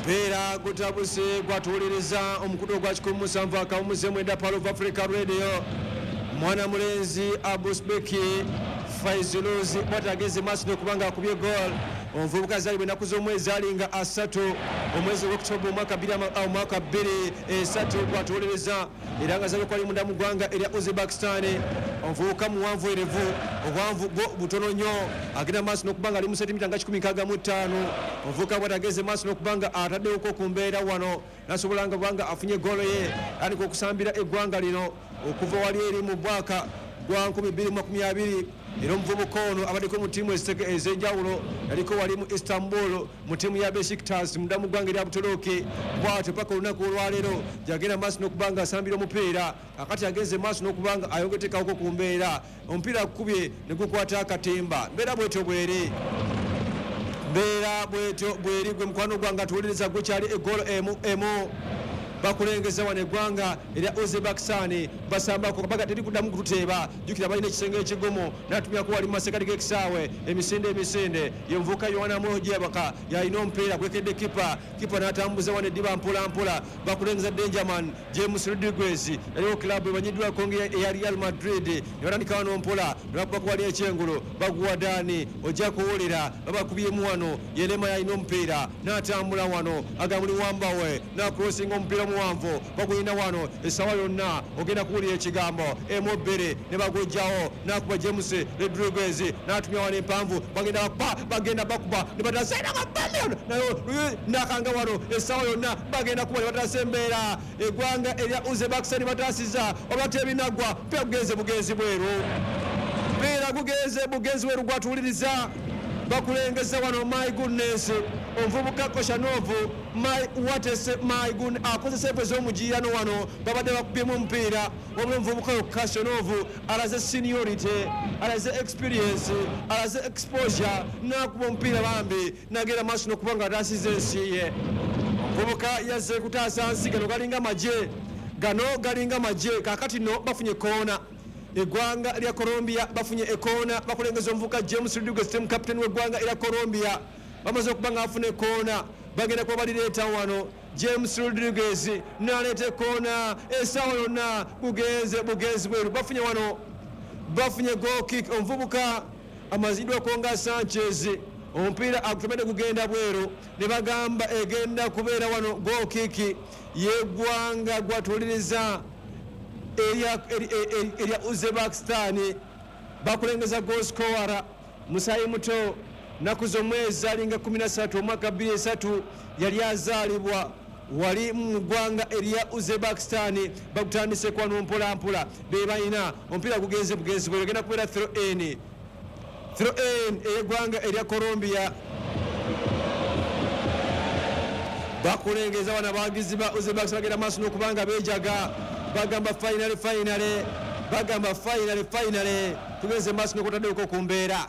Mpeera gutabuse gwatuwuliriza omukutu ogwa 107.9 Pearl of Africa Radio. Mwana mulenzi Abusbeki Faiziluzi bwatageze maaso n'okubanga akubye goal. Omuvubuka azaalibwa ennaku z'omwezi alinga 3 omwezi ogw'October omwaka 2003 gwatuwuliriza, era nga azaalibwa kwali munda mu ggwanga erya Uzbekistan. Omuvubuka muwanvu erevu, obuwanvu bwo butono nnyo, agenda maaso n'okuba nga ali mu sentimita nga 165. Omuvubuka bwatageze maaso n'okuba nga ataddewoko ku mbeera wano, nasobola nga kubanga afunye goolo ye, atandika okusambira eggwanga lino okuva wali eri mu mwaka gwa 2020. Era omuvubuka ono abaddeko mu ttiimu ez'enjawulo, yaliko wali mu Istanbul mu ttiimu ya Besiktas munda mu ggwanga erya Butuluki. Bw'atyo paka olunaku olwaleero gyagenda maaso n'okuba nga asambira omupiira. Kakati agenze maaso n'okuba nga ayongetekawoko ku mbeera, omupiira akukubye ne gukwata akatimba. Mbeera bwetyo bweri, mbeera bwetyo bweri. Gwe mukwano gwange atuwuliriza, gukyali egoolo emu emu. Bakulengeza wano eggwanga erya Uzbekistan, basambako kabaga teri kuddamu kututeeba. Jjukira balina ekisenge ekigumu. N'atumyako wali mu masekati g'ekisaawe emisinde emisinde. Ye muvubuka Yohana Mojebaka yalina omupiira, gwekedde kipa, kipa n'atambuza wano eddiba mpola mpola. Bakulengeza Dangerman James Rodriguez, yaliwo club emanyiddwako eya Real Madrid. Ne batandika wano mpola, ne bakubako wali ekyengulu, baguwa Dani, ojja kuwulira babakubyemu wano. Yerema yalina omupiira n'atambula wano, agamuli wambawe n'akurosinga omupiira omuwanvu, bagulina wano essaawa yonna ogenda kuwulira ekigambo emu bbiri ne bagujjawo. N'akuba James Rodriguez n'atumya wano empanvu, bagenda bakuba, bagenda bakuba ne batasa nayo nakanga wano essaawa yonna bagenda kuba ne batasa embeera. Eggwanga erya Uzbekistan bataasiza oba tebinaggwa, mpiira gugenze bugenzi bweru, mpiira gugenze bugenzi bweru. Gwatuwuliriza bakulengeza wano, my goodness, omuvubuka Koshanov, my what my goodness, akozesa efe ez'omugiirano wano, babadde bakubyemu omupiira. Wabula omuvubuka Koshanov alaze seniority, alaze experience, alaze exposure, n'akuba omupiira bambi nagenda maaso n'okuba nga ataasiza ensi ye. Omuvubuka yazze kutaasa nsi. Gano galinga magye, gano galinga magye. Kaakati nno bafunye koona, eggwanga lya Colombia bafunye ekoona. Bakulengeza omuvubuka James Rodriguez, team captain w'eggwanga erya Colombia. Bamaze okuba nga bafuna ekoona, bagenda kuba balireeta wano. James Rodriguez n'aleeta ekoona, essaawa yonna bugenze bugenzi bweru. Bafunye wano, bafunye goal kick. Omuvubuka amaziddwako nga Sanchez, omupiira agutomedde gugenda bweru, ne bagamba egenda kubeera wano goal kick y'eggwanga gwatuwuliriza erya Uzbekistan. Bakulengeza goal scorer musayi muto, nnaku z'omwezi alinga 13 omwaka 2003, yali azaalibwa wali mu ggwanga erya Uzbekistan. Bagutandise kwano mpola mpola, be balina omupiira, gugenze bugenzi bweru, egenda kubeera throw in, throw in ey'eggwanga erya Colombia. Bakulengeza wano abawagizi ba Uzbekistan bagenda maaso n'okuba nga beejaga, bagamba finally, finally, bagamba finally, finally, tugenze maaso n'okutaddeko ku mbeera.